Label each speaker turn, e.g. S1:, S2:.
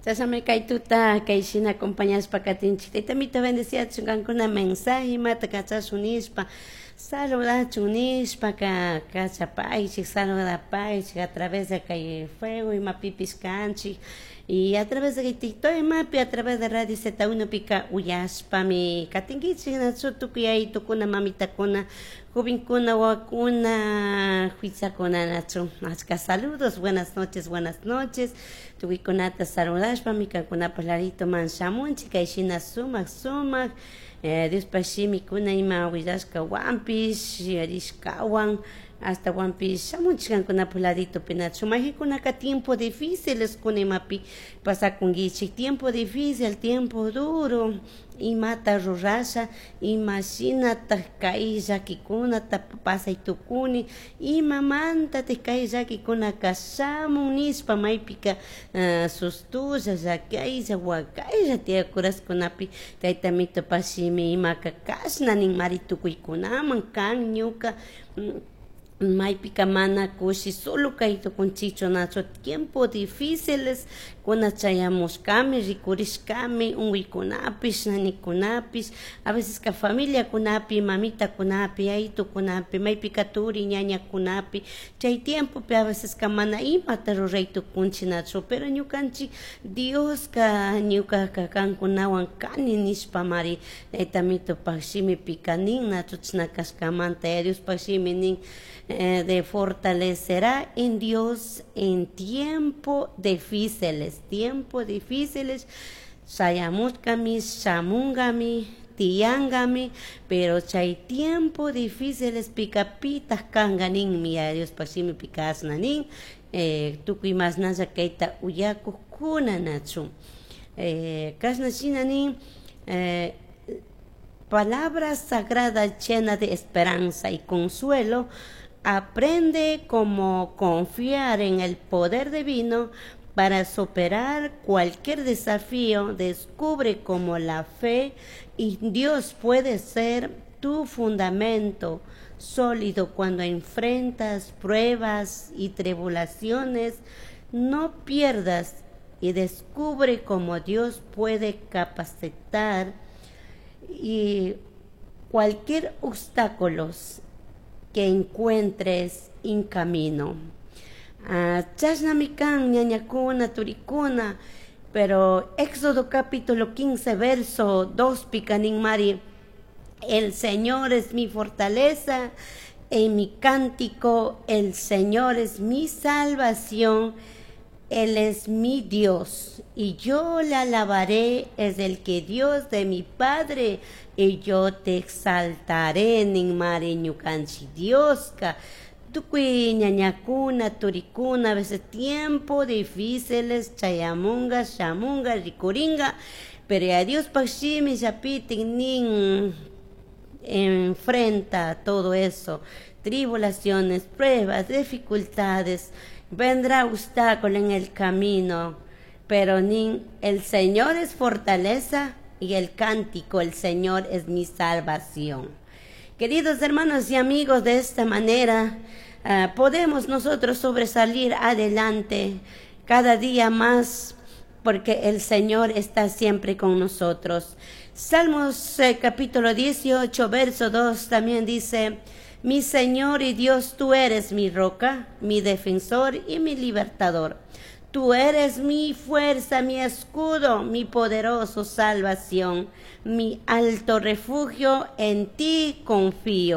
S1: Chashnami kay tuta kay shina acompañashpa katinchik. Tayta Amito bendeciachun kankuna mensaje imata kachashun nishpa saludachun nishpa ka kachapaychik, saludapaychik a través de kay fuego imapipish kanchik y a través de kay TikTok imapi, a través de Radio Z1 pika uyashpami katinkichik nachu tukuy ayitukuna, mamitakuna, jovenkuna, wawakuna, huichakuna nachu. Achka saludos, buenas noches, buenas noches. Tukuykunata saludashpami kankunapak laditoman shamunchik kay shina sumak sumak Diospak shimikuna ima willashkawanpish rishkawan ashtawanpish shamunchik kankunapak laditopi nachu. Mayjinkunaka tiempo difíciles kuna imapi pasakunkichik, tiempo difícil, tiempo duro, imata rurasha, ima shinatak kay llakikunata pasay tukuni, imamantatik kay llakikunaka shamun nishpa maypika sustulla, llakaylla, wakaylla tiyakuraskunapi Tayta Amitopak shimi imaka kashna ninmari tukuykunaman kan ñuka maypika mana kushi solo kay tukunchikchu nachu tiempo difíciles kuna chayamushkami, rikurishkami unkuykunapish, nanikunapish, a veces ka familiakunapi, mamitakunapi, ayitukunapi, maypika turi ñañakunapi, chay tiempopi a veces ka mana imata ruray tukunchik nachu, pero ñukanchik Dioska ñukaka kankunawan kani nishpamari Tayta Amitopak shimipika nin nachu chashna kashkamanta Yaya Diospak shimi nin de fortalecerá en Dios en tiempo difíciles, tiempo difíciles shayamushkami, shamunkami, tiyankami, pero chay tiempo difíciles pika pitak kanka ninmi Yaya Diospak shimipika ashna nin tukuy mashnalla kayta uyakukkuna nachu. Kashna shina nin palabra sagrada llena de esperanza y consuelo, aprende cómo confiar en el poder divino para superar cualquier desafío, descubre cómo la fe y Dios puede ser tu fundamento sólido cuando enfrentas pruebas y tribulaciones. No pierdas y descubre cómo Dios puede capacitar y cualquier obstáculo que encuentres en camino. Chashnami kan ñañakuna, turikuna, pero Éxodo capítulo 15 verso 2 pika ninmari, el Señor es mi fortaleza, en mi cántico, el Señor es mi salvación, Él es mi Dios, y yo le alabaré, es el que Dios de mi Padre, y yo te exaltaré, ninmari ñukanchik Dioska. Tukuy ñañakuna, turikuna, a veces tiempo difíciles, chayamunga, shamunga, rikuringa, pero ya Diospaj shimi llapitin nin enfrenta todo eso, tribulaciones, pruebas, dificultades, vendrá obstáculo en el camino, pero nin el Señor es fortaleza y el cántico, el Señor es mi salvación. Queridos hermanos y amigos, de esta manera podemos nosotros sobresalir adelante cada día más, porque el Señor está siempre con nosotros. Salmos capítulo 18, verso 2 también dice, mi Señor y Dios, tú eres mi roca, mi defensor y mi libertador. Tú eres mi fuerza, mi escudo, mi poderoso salvación, mi alto refugio, en ti confío.